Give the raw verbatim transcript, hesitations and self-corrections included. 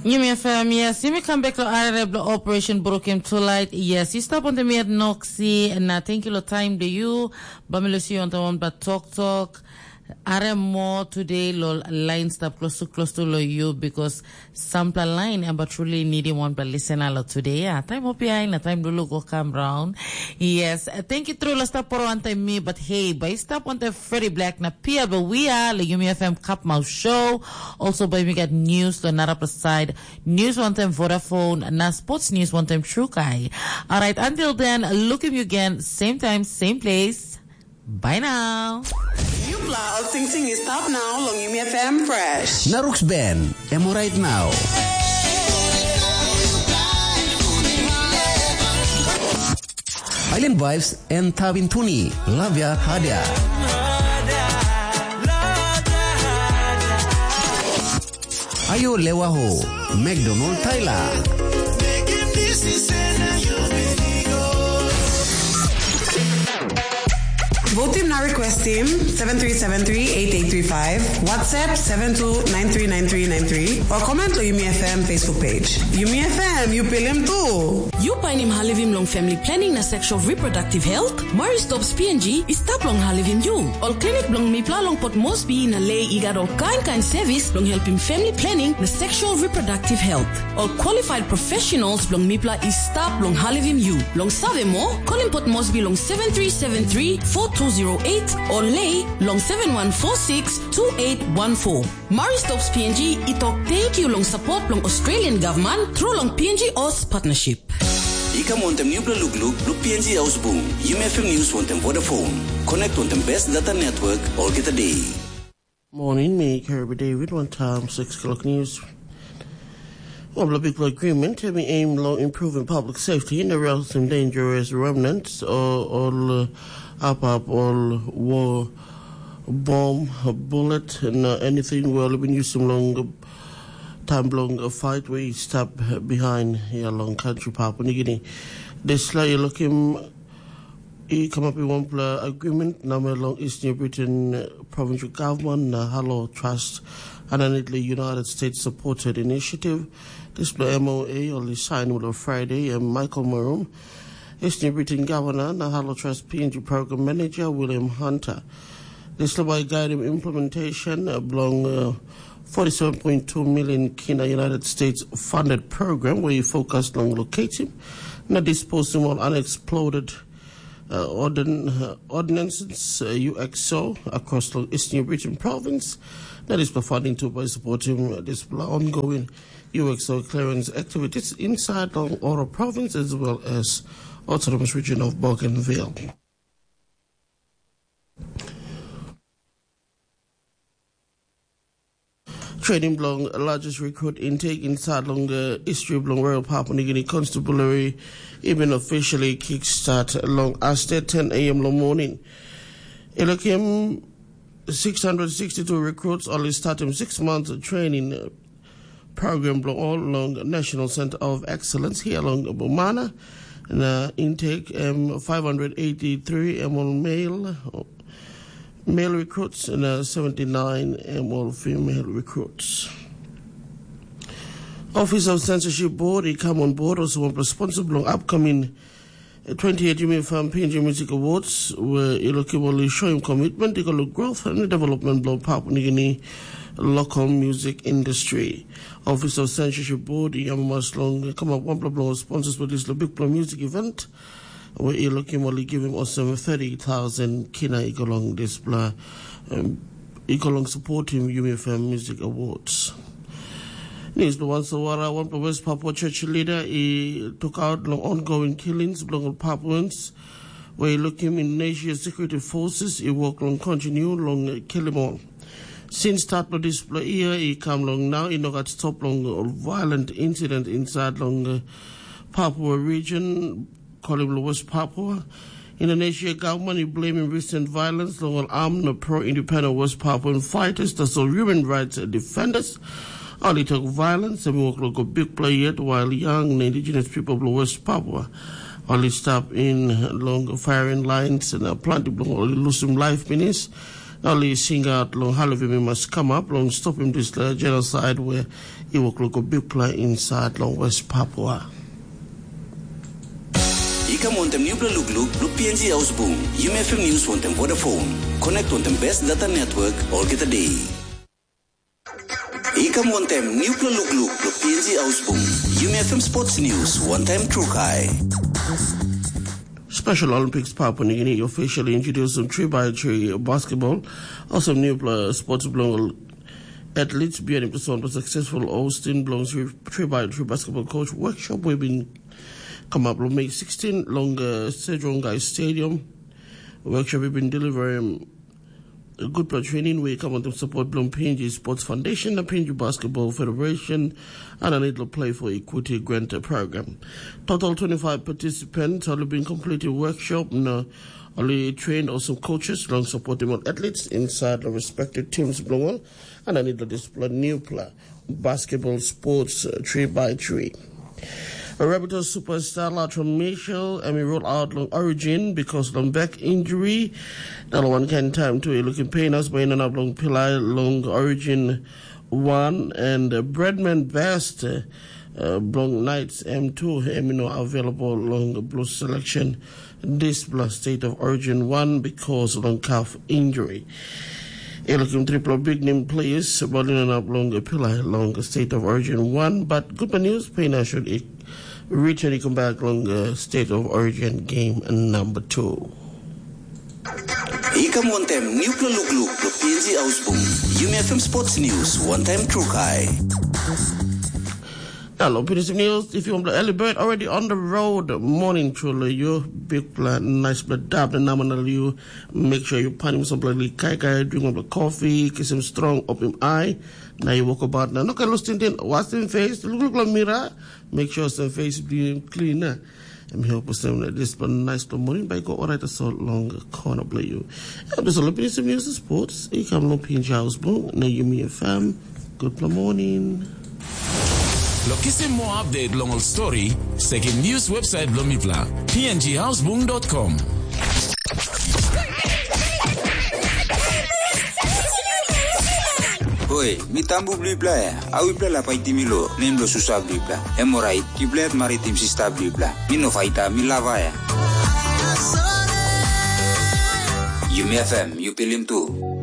Yumi F M, yes, yumi kam bek lo arere blo Operation Brukim Tonight. Yes, you stop on the miat Noxy, na thank you lo time de you. Bamilo si on the one but talk talk. Are mo today lo line stop close to close to lo you because sampla line amba truly needing one but listen alo today. Yeah, time up behind na time dulu go come round. Yes, uh, thank you through lo stop poro ante me, but hey, by stop on the Freddie Black na Pia, but we are lo Yumi F M Cup Mouth Show. Also by we got news to another side. News one time Vodafone, na sports news one time True Kai. All right, until then, look him you again, same time, same place. Bye now. Yupla, Sing Sing is top now long Yumi F M Fresh. Naruk's Ben, Emo right now. Island Vibes and Tabin Tuni, Lavia Hadia. Ayo lewa ho, McDonald Tyler. Vote team na request team seven three seven three eight eight three five, WhatsApp seven two nine three nine three nine three, or comment lo Yumi F M Facebook page. Yumi F M, you pilim too. You painim halivim long family planning na sexual reproductive health? Murray Stops P N G i stap long halivim you. Ol klinik bilong mipela long Port Moresby na Lei i gat ol kain kain sevis bilong helpim family planning na sexual reproductive health. Ol qualified professionals bilong mipela i stap long halivim you. Long save moa, kolim Port Moresby long seven three seven three four two zero eight o Lei long seven one four six two eight one four. Murray Stops P N G i tok thank you long support bilong Australian government through long P N G Oz partnership. I kam wantem nupela lukluk bilong P N G Haus Bung, Yumi F M News wantem Vodafone. Connect wantem best data network olgeta day. Morning, me Kirby David, one time six o'clock news. Of the big agreement, we aim long improving public safety in the realms and dangerous remnants or all uh, up up all war bomb, bullet, and uh, anything we all been using long time long a fight we stop behind here long country Papua New Guinea. This like you look him I come up in one pla agreement na me long East New Britain uh, provincial government na Halo Trust and anitli United States supported initiative. This pla M O A only signed with a Friday and Michael Marum, East New Britain governor na Halo Trust P N G program manager William Hunter. This by guide him implementation uh, belong uh, forty-seven point two million Kina United States funded program where you focus on locating na disposing of unexploded uh, ordin- uh, ordinances uh, U X O across the Eastern Region province. That is providing to by supporting uh, this ongoing U X O clearance activities inside the Oro province as well as autonomous region of Bougainville. Training belong largest recruit intake inside long uh, history belong Royal Papua New Guinea Constabulary even officially kickstart long Aste ten a m long morning. Elokim six hundred sixty-two recruits only start him six months of training uh, program belong all along National Center of Excellence here along Bumana. Na intake um, five hundred eighty-three ml male male recruits and uh, seventy-nine ml female recruits. Office of Censorship Board, he come on board also one responsible on upcoming twenty-eight Yumi Farm P N G Music Awards, where Ilokiboli show him commitment to the growth and development of Papua New Guinea local music industry. Office of Censorship Board, Yamamas Long, come up one of the sponsors for this big music event, where Ilokiboli give him also thirty thousand kina along this bla. Um, i go long supportim Yumi F M Music Awards. News the one Sawara, one West Papua Church leader, he took out long ongoing killings belong Papuans, where he look him Indonesia security forces, he work long continue long kill him all. Since start of this year, he come long now, he no got stop long violent incident inside long uh, Papua region, call him West Papua. Indonesia government is blaming recent violence long all armed pro-independent West Papuan fighters, that's all human rights defenders. Only took violence and work like a big play yet while young indigenous people of West Papua only stop in long firing lines and uh, plenty of only losing life minutes. Ol i singaut long Halivim i mas kamap long stopim dispela jenosaid we i wok long go bikpela insait long West Papua. I kam wantaim nupela lukluk long P N G Haus Bung, Yumi F M News wantaim Vodafone. Connect wantaim best data network olgeta day. I kam wantaim nupela lukluk long P N G Haus Bung, Yumi F M Sports News wantaim Trukai. Special Olympics Papua New Guinea officially introduced some three by three basketball. Also, new pla- sports belong athletes beyond the successful Austin belongs three by three basketball coach workshop. We've been come up on May sixteen along uh, Sejong Guy Stadium. Workshop we've been delivering a good training we come on to support belong P N G Sports Foundation, the P N G Basketball Federation, and a little play for equity grant program. Total twenty-five participants have been completed workshop and uh, only trained awesome coaches along supporting all athletes inside the respective teams belong all, and a little discipline new player basketball sports uh, three by three. Rabbitohs superstar Lautron Mitchell em i rule out long Origin because long back injury. Nala wan kain taim tu i lukim pain as bai inanap long pilai long Origin one and uh, Bradman Best uh, uh, bilong Knights M two em i no available long Blues selection dispela State of Origin one because long calf injury. E lukim tripela big name players ol inanap long pilai long State of Origin one, but good news, Pena should return i come back long uh, State of Origin game number two. I kam wantaim nupela lukluk long P N G Haus Bung, Yumi F M Sports News wantaim Trukai. Hello, P N G News. If you want early bird already on the road, morning truly you big plan, nice blood dab and nominal you. Make sure you panim some bloody kai kai, drink up the coffee, kiss him strong, open him eye. Now you walk about now. No can lose tintin, wash him face, look look like mirror. Make sure some face be clean. Na em help us them like this, but nice to morning by go alright so long corner play you. Em dis ol pinis news sports i kam long Pinch House Bung na Yumi F M. Good morning. Lo kisim moa update long ol story, sekim news website bilong mipela, P N G housebung dot com. Hoi, mi tambu bilipela ya. Au ipela la paitim mi lo, nem lo susa bilipela. Em orait, ipela yet maritim sista bilipela. Mi no faita, mi lava ya. Yumi F M, yu pilim tu.